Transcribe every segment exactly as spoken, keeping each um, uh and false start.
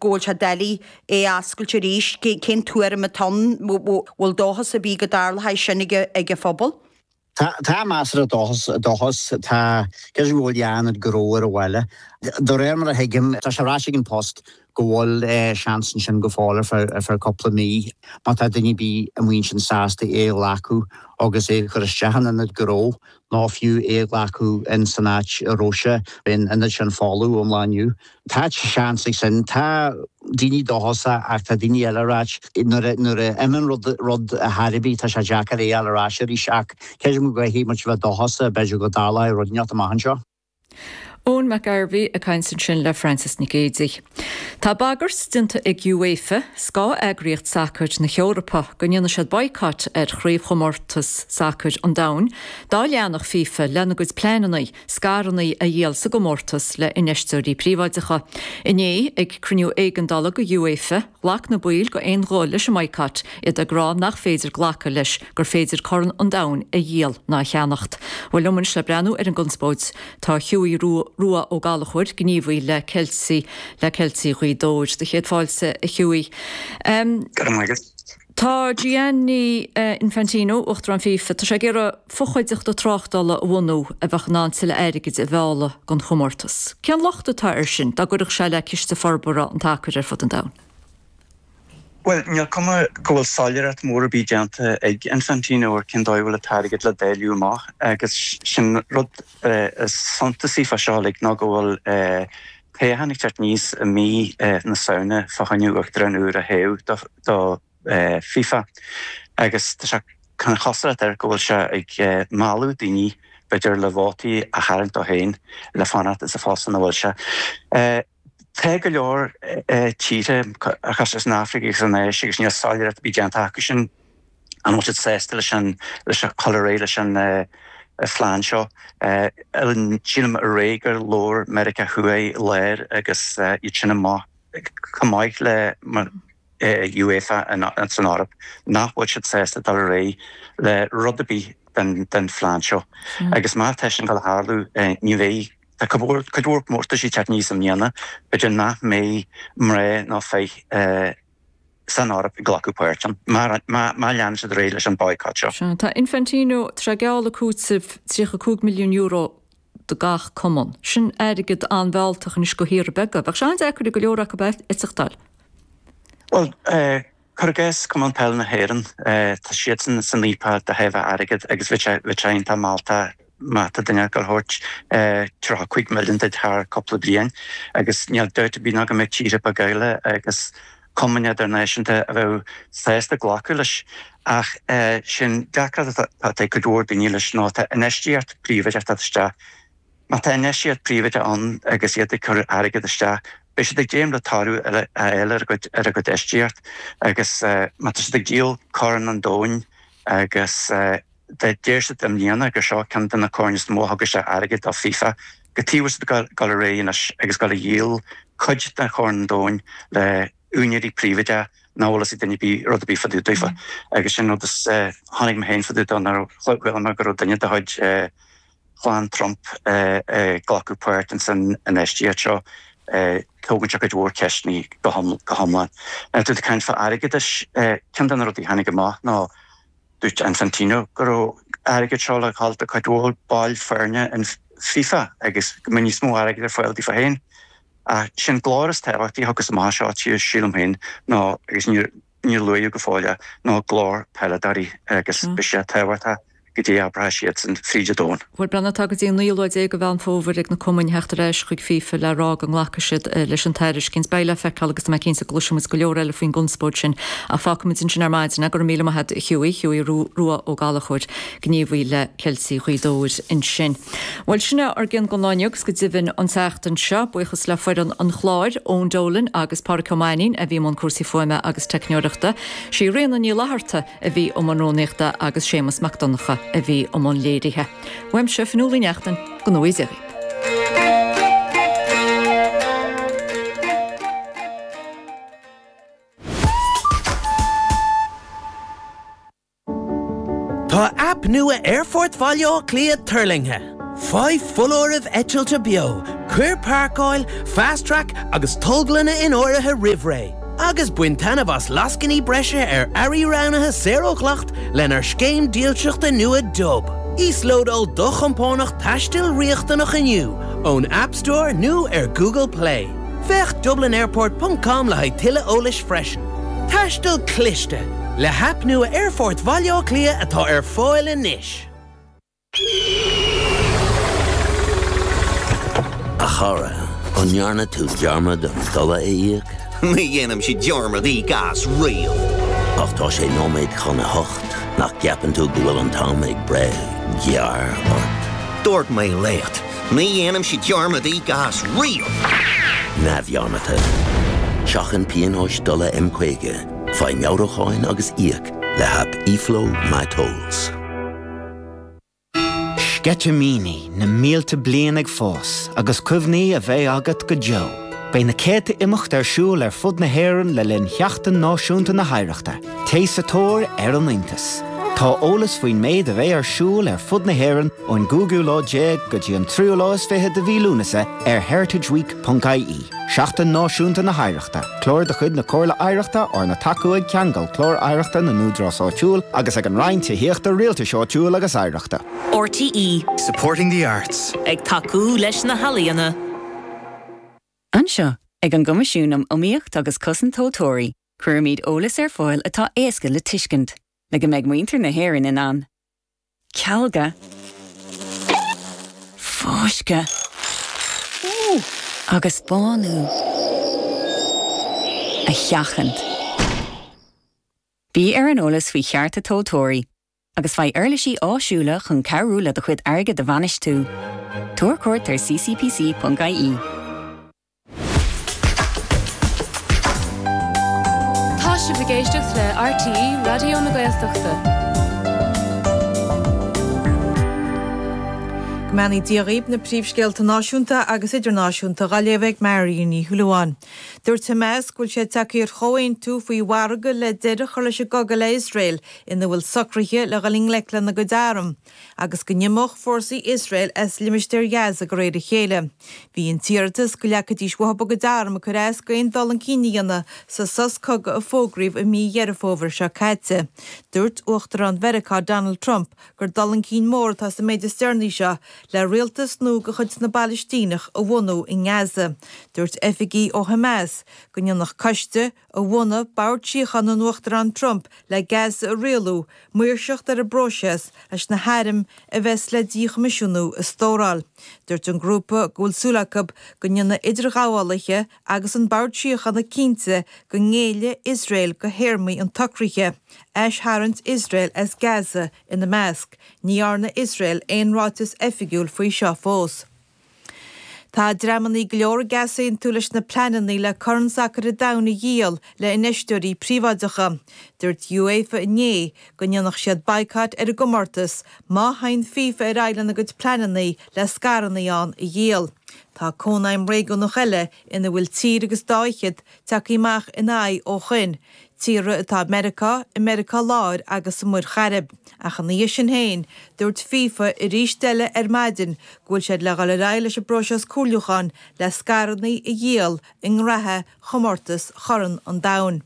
go bhfuil sé doiligh é a oscailt arís, cén tuairim atá ann, bhfuil dóchas ar bith go dtarlóidh sin ag an phobal? Tá measartha dóchas dóchas tá cé go bhfuil ionad gnó ar an bhaile. De réir mar a thuigim tá sé ráite ag An Post go bhfuil seans ansin go fóill ar feadh ar feadh cúpla mí má tá duine ar bith amuigh ansin sásta é a ghlacadh agus é a chur isteach in ionad gnó nó fiú é a ghlacadh in san áit a raibh sé in ionad sin folamh ón lá inniu. Tá seans ag sin tá daoine dóchasach ach tá daoine eile ag ráit nuair nuair a imíonn rud rud ar chor ar bith tá sé deacair é a fháil ar ais arís ach creidim go gcaithfidh muid bheith dóchasach b'fhéidir go dtarlóidh rud inteacht amach anseo. Eoin McGarvey ag caint ansin le Francis Nic Géadaigh. Tá bagairt déanta ag UEFA, scáth-eagraíocht sacair na hEorpa, go ndéanfaidh siad boycott ar chraobhchomórtas sacair an domhain, dá leanfadh FIFA lena gcuid pleananna scaireanna a dhíol sa gcomórtas le infheisteoirí príobháideacha. Inné, ag cruinniú éigeandála go UEFA, ghlac na baill d'aon ghuth leis an mboycott, iad ag rá nach féidir glacadh leis gur féidir Corn an Domhain a dhíol ná a cheannacht. Bhuel liom anois le breathnú ar an gconspóid tá Hughie Rua Ó Gallchóir, gníomhaí le Ceiltigh le Ceiltigh Ghaoth Dobhair. Do chéad fáilte a Hughie. Um, Go raibh maith agat. Tá Gianni Infantino, Uachtarán FIFA, tá sé ag iarraidh fochuideachta tráchtála a bhunú a bheadh in ann tuilleadh airgid a mhealladh don chomórtas. Cén locht atá air sin dá gcuirfeadh sé le ciste forbartha an tsacair ar fud an domhain? Bhuel, níl cuma go bhfuil soiléireacht mór ar bith déanta ag Infantino ar cén dóigh a bhfuil an t-airgead le dáileadh amach agus sin rud is suntasaí fá seo uilig ná go bhfuil toghchán ag teacht aníos i mí na Samhna fá choinne uachtarán úr a thoghadh do FIFA agus tá sé chun cosúlacht air go bhfuil sé ag mealladh daoine b'fhéidir le vótaí a tharraingt dó féin le fanacht sa phost ina bhfuil sé. Tá go leor tíortha cosúil san Afraic agus san Áis agus níl soiléireacht ar bith déanta acu sin an bhfuil siad sásta leis an leis an chur ar aghaidh leis an phlean seo. Sílim aréir gur labhair Meiriceá Thuaidh, Láir agus iad sin amach chomh maith le UEFA san Eoraip nach bhfuil siad sásta dul ar aghaidh le rud ar bith den den phlean seo. Agus má tá sin ag dul a tharlú ní bheidh tá cuid mhór cuid mhór comórtais ag teacht aníos i mbliana, b'fhéidir nach mbeidh mná ná fir san Eoraip ag glacadh páirt ann má má leanann siad ar aghaidh leis an boycott seo. Sea, tá Infantino tar éis gealladh cúiteamh tríocha cúig milliún euro do gach cumann. Sin airgead an-mhealltach anois do thíortha beaga. Bheadh sé an-deacair ag go leor acu é a thógáil. Bhuel, cuir i gcás Cumann Peile na hÉireann, tá siadsan san fhaopach de thaobh airgid agus bheadh sé bheadh sé iontach mealltach má tá duine ag dul a thabhairt tríocha cúig milliún duit thar cúpla bliain agus níl dabht ar bith ná go mbeadh tíortha beaga eile agus cumainn idirnáisiúnta a bheadh sásta glacadh leis. Ach sin deacracht atá ag cuid mhór daoine leis ná tá infheistíocht príobháideach ag teacht isteach. Má tá infheistíocht príobháideach ann agus iad ag cur airgead isteach, beidh siad ag dréim le toradh a fháil ar a gcuid ar a gcuid infheistíocht agus má tá siad ag díol Corn an Domhain agus deir siad i mbliana gur seo ceann de na coirn is mó a thug isteach airgead do FIFA, cad chuige a bhfuil siad ag dul ar aghaidh anois agus dul a dhíol cuid de Chorn an Domhain le úinéirí príobháideacha nach bhfuil fhios ag duine ar bith rud ar bith fá dtaobh daofa agus sin rud is tháinig mé féin fá dtaobh dó nuair a chuala mé go raibh duine de chuid chlann Trump ag glacadh páirt ins an infheistíocht seo. Tógann sé cuid mhór ceisteanna go hiomlán. Tá tú ag caint fá airgeadais, ceann de na rudaí a tháinig amach ná dúirt Infantino go raibh airgead seo le dhul do cuid mhór baill foirne in FIFA agus go mbeidh níos mó airgid ar fáil daofa féin. Ach sin glór is tábhachtaí a thiocfas amach as seo, sílim féin, ná agus níor níor luaíodh go fóill é, ná glór peileadóirí agus beidh sé tábhachtach go dtí a abraithe siadsan fríd an domhan. Bhuel, breathnaigh, tá go dtí an naoú lá déag de Mheán Fómhair ag na cumainn theacht ar ais chuig FIFA le rá go nglacfaidh siad leis an tairiscint. Beidh le feiceáil agus tá mé cinnte go gcloisfidh muid go leor eile faoin gconspóid sin. Ach fágfaidh muid ansin ar maidin é. Go raibh míle maith agat, a Hughie, Hughie Rua Ó Gallchóir, gníomhaí le Ceiltigh Ghaoth Dobhair ansin. Bhuel, sin é ár gcion don lá inniu agus go deimhin an tseachtain seo. Buíochas le foireann an chláir, Eoin Dolan agus Pádraic Ó Mainnín a bhí i mbun cúrsaí fuaime agus teicneoireachta. Sí Ríona Ní Fhlatharta a bhí i mbun rúnaíochta agus Séamus Mac Donncha a bhí i mbun léirithe. Uaimse, Fionnuala Ní Neachtain, go ngnóthaí Dia dhaoibh. Tá aip nua Aerfort Bhaile Átha Cliath tuirlingthe. Faigh foláirimh eitilte beo, Cuir páirceáil, Fast Track agus tolglanna in áirithe roimh ré. Agus bain taitneamh as lascainí breise ar earraí roghnaithe saor ó dhleacht lenár scéim dílseachta nua Dub. Íoslódáil do chompánach taistil riachtanach inniu ón App Store nó ar Google Play. Féach dublinairport.com le haghaidh tuilleadh eolais freisin. Taisteal cliste le haip nua Aerfort Bhaile Átha Cliath atá ar fáil anois. A chara, an ndearna tú dearmad an dola a íoc? Ní dhéanaimse dearmad íoc as riamh. Ach tá sé nóiméad chun a hocht, nach gceapann tú go bhfuil an t-am ag breith gearr ort? Dúirt mé leat, ní dhéanaimse dearmad íoc as riamh. Neamhdhearmadta. Seachain pionóis dola M caoga, faigh meabhrúcháin agus íoc le haip eFlow MyTolls. Sceitimíní na mílte bliain ag fás agus cuimhní a bheidh agat go deo. Beidh na céadta imeacht ar siúl ar fud na hÉireann le linn Sheachtain Náisiúnta na hOidhreachta, Téigh sa tóir ar an iontas. Tá eolas faoin méid a bheidh ar siúl ar fud na hÉireann ón gcúigiú lá déag go dtí an tríú lá is fiche de mhí Lúnasa ar heritageweek.ie. Seachtain Náisiúnta na hOidhreachta, clár de chuid na Comhairle Oidhreachta arna tacú ag Ceangal Clár Oidhreachta na nÚdarás Áitiúil agus ag an Roinn Tithíochta Rialtais Áitiúil agus Oidhreachta. RTÉ. Supporting the arts. Ag tacú leis na healaíona. Anseo, ag an gCoimisiún um Iomaíocht agus Cosaint Tomhaltóirí, cuirimid eolas ar fáil atá éasca le tuiscint, le go mbeidh muintir na hÉireann in ann. Cealga. Fáisceadh. Agus bánú. A sheachaint. Bí ar an eolas faoi chearta tomhaltóirí, agus faigh uirlisí áisiúla chun cabhrú le do chuid airgid a bhainistiú. Tabhair cuairt ar ccpc.ie. Tá sibh ag éisteacht le RTÉ Raidió na Gaeltachta. Go mbeannaí Dia dhaoibh na príomhscéalta náisiúnta agus idirnáisiúnta á léamh ag Marion Ní Shúilleabháin. Dúirt Hamas go bhfuil sé tagtha ar chomhaontú faoi mhargadh le deireadh a chur leis an gcogadh le Iosrael ina bhfuil socruithe le dhul i ngleic lena gcuid arm, agus go n-imeodh fórsaí Iosrael as limistéar Ghaza de réir a chéile. Bhí an t-iarratas go leagfaidís uathu a gcuid arm ag cur as d'aon dul chun cinn a dhéanamh sa sos cogaidh a fógraíodh i mí Dheireadh Fómhair seo caite. Dúirt Uachtarán Mheiriceá Donald Trump gur dul chun cinn mór atá sa méid is deireanaí seo le rialtas nua de chuid na bPalaistíneach a bhunú i nGaza. Dúirt oifigigh ó Hamas go ndéanfadh coiste a bhunaigh Bord Síochána an Uachtaráin Trump le Gaza a rialú, maoirseacht ar an bpróiseas leis na hairm a bheas le díchoimisiúnú a stóráil. Dúirt an grúpa go bhfuil súil acu go ndéanfaidh idirghabhálaithe agus an Bord Síochána cinnte go ngéillfidh Iosrael do théarmaí an tsocraithe, aistharraingt Iosrael as Gaza ina measc. Ní dhearna Iosrael aon ráiteas oifigiúil faoi seo fós. Tá dreamanna go leor ag easaontú leis na pleananna le Corn Sacair an Domhain a dhíol le infheisteoirí príobháideacha. Dúirt UEFA inné go ndéanfadh siad baghcat ar an gcomórtas má théann FIFA ar aghaidh lena gcuid pleananna le scaireanna ann a dhíol. Tá cónaidhm réigiúnach eile ina bhfuil tír agus dá fhichead tagtha amach ina aghaidh ó shoin, tíortha atá i Meiriceá, i Meiriceá Láir agus sa Mhuir Chairib. Ach ina dhiaidh sin féin, dúirt FIFA arís eile ar maidin go bhfuil siad le dhul ar aghaidh leis an bpróiseas comhairliúcháin le scaireanna a dhíol i ngraithe chomórtas Chorn an Domhain.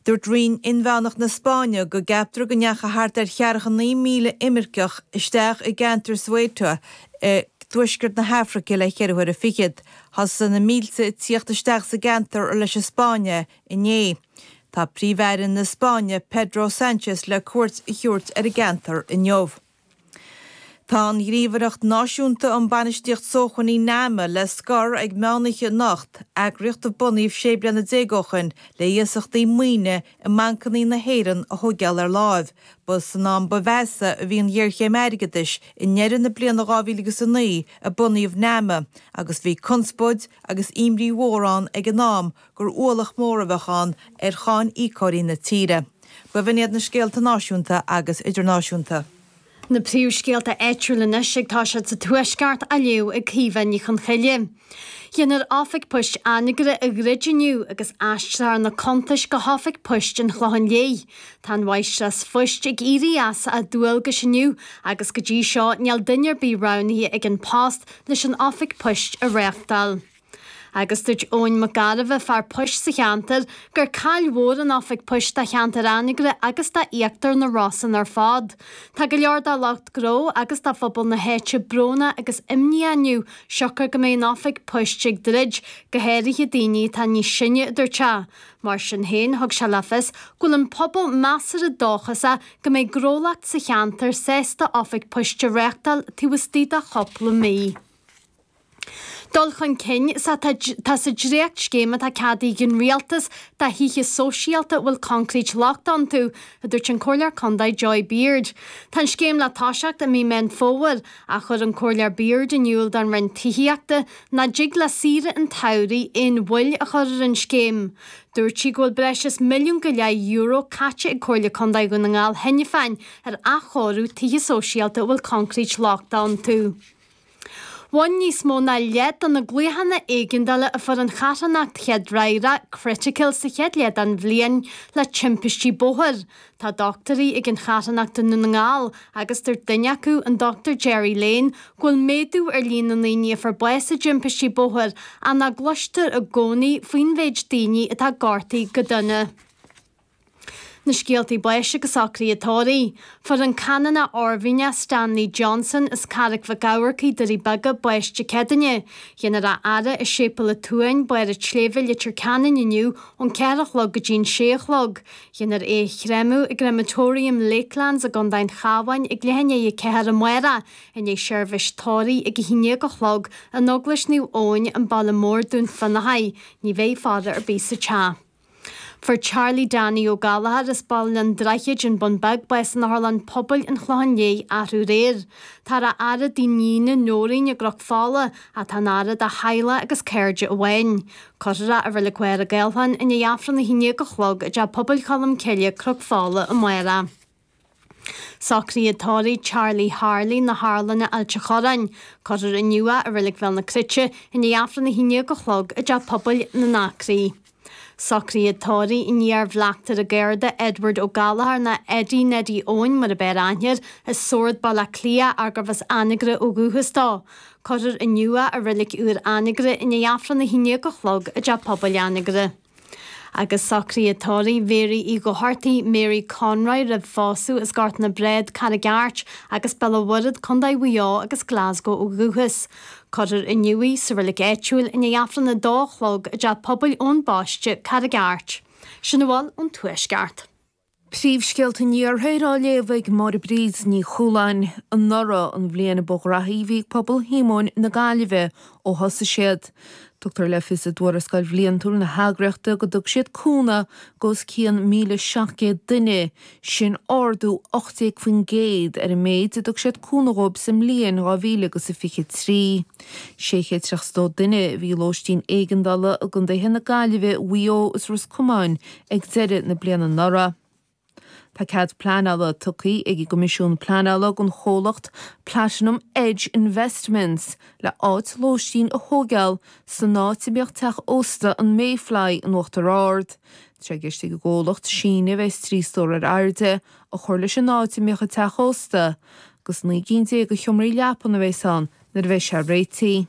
Dúirt Roinn Inmheánach na Spáinne go gceaptar go ndeachaigh thart ar cheathracha naoi míle imirceach isteach i gceantar Ceuta i dtuaisceart na hAfraice le ceithre huaire fichead. Thosaigh na mílte ag tíocht isteach sa gceantar leis an Spáinne inné. Tá Príomh-Aire na Spáinne Pedro Sánchez le cuairt a thabhairt ar an gceantar inniu. Tá an Ghníomhaireacht Náisiúnta um Bainistíocht Sócmhainní NAMA le scor ag meánoíche anocht, eagraíocht a bunaíodh sé bliana déag ó shin le hiasachtaí maoine i mbancanna na hÉireann a thógáil ar láimh. Ba san am ba mheasa a bhí an ghéarchéim airgeadais i ndeireadh na bliana dhá mhíle agus a naoi a bunaíodh NAMA agus bhí conspóid agus imní mhór ann ag an am gur ualach mór a bheadh ann ar cháin íocóirí na tíre. B'in iad na scéalta náisiúnta agus idirnáisiúnta. Na príomhscéalta áitiúla anois ag toiseacht sa Tuaisceart á léamh ag Caoimhe Ní Chonchoille. Déanfar Oifig Poist Anagaire a dhruid inniu agus aistreofar na cuntais go hOifig Poist an Chlocháin Léith. Tá an mháistreás phoist ag éirí as a dualgais inniu agus go dtí seo níl duine ar bith roghnaithe ag An Post leis an Oifig Poist a reáchtáil. Agus dúirt Eoin Mac Gairbheith, fear poist sa cheantar, gur caill mhór an oifig poist do cheantar Anagaire agus d'íochtar na Rosann ar fad. Tá go leor de lucht gnó agus de phobal na háite brónach agus imníoch inniu siocair go mbeidh an oifig poist ag druid, go háirithe daoine atá níos sine, a dúirt sé. Mar sin féin, thug sé le fios go bhfuil an pobal measartha dóchasach go mbeidh gnólacht sa cheantar sásta oifig poist a reáchtáil taobh istigh de chúpla mí. Dul chun cinn sa tá sa dréachtscéim atá ceadaithe ag an Rialtas do thithe sóisialta a bhfuil coincréit lochtach iontu, a dúirt an Comhairleoir Contae Joy Beard. Tá an scéim le toiseacht i mí Meán Fómhair, ach chuir an Comhairleoir Beard in iúl don Roinn Tithíochta nach dtig le saoire an tsamhraidh aon mhoill a chur ar an scéim. Dúirt sí go bhfuil breis is milliún go leith euro caite ag Comhairle Contae Dhún na nGall cheana féin ar athchóiriú tithe sóisialta a bhfuil coincréit lochtach iontu. Bhain níos mó ná leath de na glaochanna éigeandála a fuair an charthanacht chéadfhreagrach Critical sa chéad leath den bhliain le timpistí bóthair. Tá dochtúirí ag an charthanacht i nDún na nGall agus dúirt duine acu, an Dochtúir Jerry Lane, go bhfuil méadú ar líon na ndaoine a fuair bás i dtimpistí bóthair ach nach gcloistear i gcónaí faoin mhéid daoine atá gortaithe go dona. Na scéaltaí báis agus socruithe tórraimh. Fuair an Canónach Oirmhinneach Stanley Johnson as Carraig Mhic Eamharcaigh, Doirí Beaga, bás Dé Céadaoine. Déanfar a fhaire i Séipéal an tSuain, Barr an tSléibhe, Leitir Ceanainn inniu ón ceathair a chlog go dtí an sé a chlog. Déanfar é a chréamadh i gCrematorium Lakelands i gContae an Chabháin ag leath i ndiaidh a ceathair amárach, i ndiaidh seirbhís tórraimh ag a haon déag a chlog in Eaglais Naomh Eoin, an Baile Mór, Dún Fionnachaidh. Ní bheidh faire ar bith sa teach. Fuair Charlie Danny Ó Gallchóir as Baile an Droichid, An Bun Beag, bás in Otharlann Pobail an Chlocháin Léith arú aréir. Táthar á fhaire dá níon Nóirín i gCnoc Fola ach tá an fhaire do theaghlach agus cairde amháin. Cuirfear é i Reilig Mhachaire Gathlán i ndiaidh Aifreann a haon déag a chlog i dTeach Pobail Cholm Cille, Cnoc Fola amárach. Socruithe tórraimh Charlie Harley na hArlainne Ailt an Chorráin. Cuirfear inniu é i Reilig Bhéal na Cruite i ndiaidh Aifreann a haon déag a chlog i dTeach Pobail na nAcraí. Socruithe tórraimh an iar-bhleachtaire Garda Edward Ó Gallchóir nó Eddie Neddie Eoin mar ab fhearr aithne air, as Sord Baile Átha Cliath ach gurbh as Anagaire ó dhúchas dó. Cuirfear inniu é i Reilig Úr Anagaire i ndiaidh Aifreann a haon déag a chlog i dTeach Pobail Anagaire. Agus socruithe tórraimh Mhary Uí Dhochartaigh, Mary Conroy roimh phósadh as Gort na Bréad, Carraig Airt agus Béal an Mhuirthead, Contae Mhaigh Eo agus Glasgow ó dhúchas. Cuirfear inniu í sa reilig áitiúil i ndiaidh Aifreann a dó a chlog i dTeach Pobail Eoin Baiste, Carraig Airt. Sin a bhfuil ón Tuaisceart. Príomhscéalta an Iarthair á léamh ag Máire Bríd Ní Chualáin. Anuraidh an bhliain ba ghraithí a bhí ag pobal Shíomóin na Gaillimhe ó thosaigh siad. Tugtar le fios i dtuarascáil bhliantúil na heagraíochta go dtug siad cúnamh do os cionn míle seacht gcéad duine, sin ardú ocht déag faoin gcéad ar an méid a dtug siad cúnamh dhóibh sa mbliain dhá mhíle agus a fiche trí. Sé chéad tríocha is dó duine a bhí i lóistín éigeandála i gcontaetha na Gaillimhe, Mhaigh Eo is Ros Comáin ag deireadh na bliana anuraidh. Tá cead pleanála tugtha ag an gCoimisiún Pleanála don chomhlacht Platinum Edge Investments le áit lóistín a thógáil san áit a mbíodh teach ósta an Mayfly in Uachtar Ard. Tá sé i gceist ag an gcomhlacht síneadh a bheas trí stór ar airde a chur leis an áit a mbíodh an teach ósta agus naoi gcinn déag de sheomraí leapan a bheas ann nuair a bheidh sé réitithe.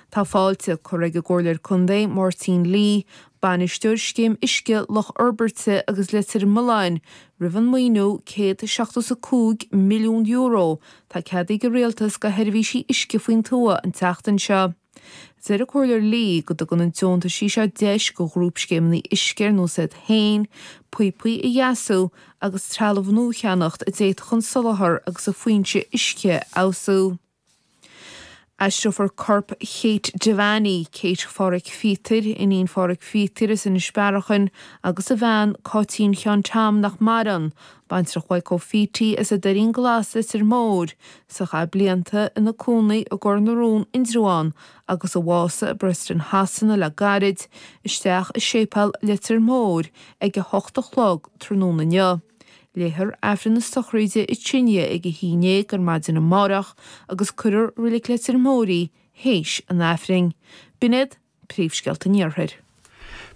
Tá fáilte curtha ag an gComhairleoir Contae Máirtín Lee, Bainisteoir Scéim Uisce Loch Fhorbairte agus Leitir Mealláin, roimh an maoiniú céad seachtó is a cúig milliún euro atá ceadaithe ag an Rialtas do sheirbhísí uisce faoin tuath an tseachtain seo. Deir an Comhairleoir Lee go dtugann an deontaisí seo deis do ghrúpscéimeanna uisce ar nós iad féin, píopaí a dheasú agus trealamh nua a cheannacht a d'fhéadfadh an soláthar agus an foinse uisce a fheabhsú. Aistreofar corp Kate Devaney, Kate Pháraic Phíotair, iníon Pháraic Phíotair as Inis Bearachain, agus a bhean, Cáitín Sheáin Tom nach maireann, baintreach Mhaidhc Phítí as an Doirín Glas, Leitir Móir, is a chaith blianta ina cónaí i gCor na Rón, Indreabhán, agus a bhásaigh i Preston Shasana le gairid, isteach i Séipéal Leitir Móir ag a hocht a chlog tráthnóna inniu. Léifear Aifreann na sochraide i Tigh ag a haon déag ar maidin amárach agus cuirfear Reilig Leitir Móir í théis an Aifrinn. B'in iad príomhscéalta an Iarthair.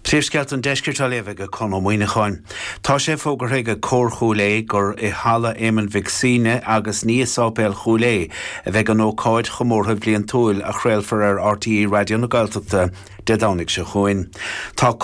Príomhscéalta an Deiscirt á léamh ag Conn Ó Muíneacháin. Tá sé fógartha ag Cór Chúil Aodha gur i Halla Éamonn Mhic Suibhne agus ní i Sáipéal Chúil Aodha a bheidh an ócáid chomórtha bhliantúil a chraolfar ar RTÉ Raidió na Gaeltachta Dé Domhnaigh seo chugainn. Tá